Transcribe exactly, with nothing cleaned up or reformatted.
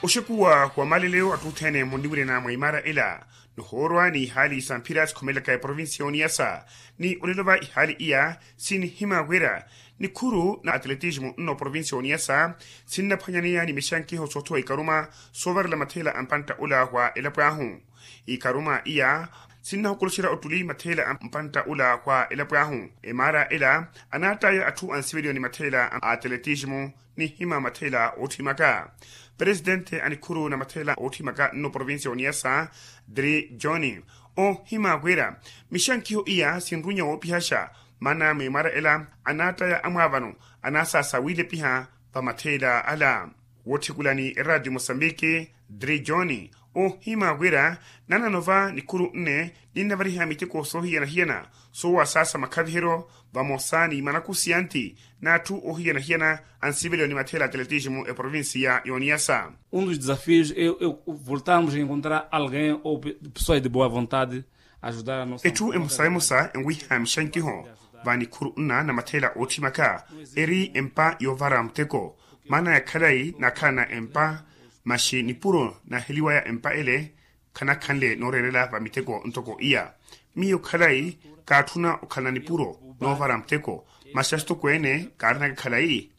Oxekuwa wa malelelo attuthene munniwirena mwa imara ela, nihoorwa ni ihaali sa mphira sikhomelaka eprovincia ya oniyasa. Ni olelo va ihaali iya sinihima wira nikhuru na atletismo nno provincia ya oniyasa sinnaphwanyaneya ni mixankiho soothuwa ikaruma soovarela matheela a mpantta ola wa elapo ahu. Ikaruma iya sinnahokoloxerya ottuli matheela a mpantta ola wa elapo ahu. Emaara ela anaattaya atthu ansiveliwa ni matheela a atletismo nihima matheela ootthimaka. Presidente a nikhuru na matheela ootthimaka nno provincia ya oniyasa, dri john, ohima wira mixankiho iya sinrunya woopihaxa, maana mwimaara ela anaattaya amwaavano anaasaasa wiilepiha va matheela ala. Wootthekulani eradio mosambiki, dri john, ohima wira nanano va nikhuru nne ninnavariha miteko soohiyana-hiyana soowasaasa makhaviheryo vamosa ni manakusiyanti n'atthu ohiyana-hiyana ansiveliwa ni matheela atletismo eprovincia ya oniyasa. Um dos desafios é voltarmos a encontrar alguém ou pessoas de boa vontade ajudar a nossa etthu emosa emosa enwiha mixankiho va nikhuru nna na matheela ootthimaka, eri empa yoovara muteko. Maana ya khalayi naakhalana empa, maxi nipuro naaheliwaya empa ele khanakhanle nooreerela va miteko ntoko iya. Miyo khalayi kaatthuna okhalana nipuro noovara muteko, maxi axitokweene kaarinaka khalayi